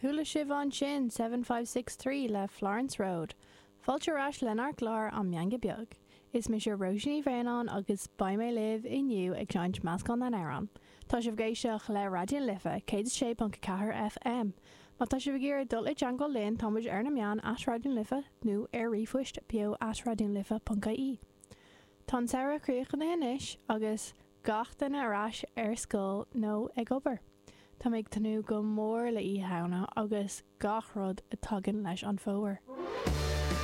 Chuala sibh ansin 7563 le Florence Road. Fáilte ar ais lenár gclár An Meangadh Beag. Is mise Róisín Ní Bhraonáin agus beidh mé libh inniu ag seinnt meascán na n-amhrán. Tá sibh ag éisteacht le Raidió na Life 106.4 FM. Má tá sibh ag iarraidh dul i dteagmháil linn tá muid ar na meáin at Raidió na Life nó ar ríomhphoist beo at raidionalife.ie. Tá an samhradh críochnaithe anois agus gach duine ar ais ar scoil nó ag obair. Tá mé ag tnúth go mór le Oíche Shamhna agus gach rud a tagann leis an fómhar.